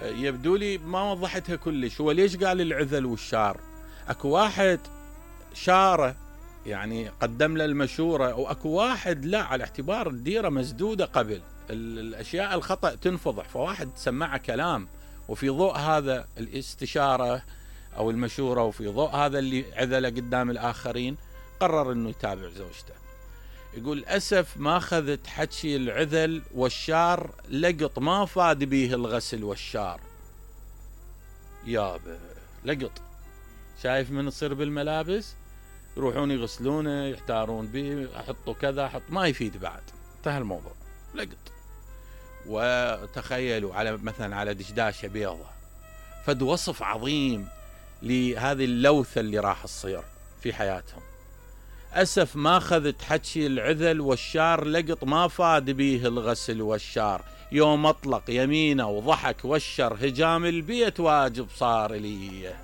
يبدو لي ما وضحتها كلش. هو ليش قال العذل والشار؟ اكو واحد شاره يعني قدم له المشورة، واكو واحد لا، على اعتبار الديرة مسدودة قبل الاشياء الخطأ تنفضح، فواحد سمعه كلام، وفي ضوء هذا الاستشارة او المشورة وفي ضوء هذا اللي عذله قدام الاخرين قرر انه يتابع زوجته. يقول اسف ما اخذت حكي العذل والشار، لقط ما فاد به الغسل والشار. يابا لقط، شايف من تصير بالملابس يروحون يغسلونه يحتارون به، احطوا كذا احط، ما يفيد بعد، انتهى الموضوع، لقط. وتخيلوا على مثلا على دشداشة بيضة، فد وصف عظيم لهذه اللوثة اللي راح تصير في حياتهم. أسف ما أخذت حكي العذل والشار، لقط ما فاد به الغسل والشار، يوم أطلق يمينه وضحك والشر هجام البيت واجب صار لي.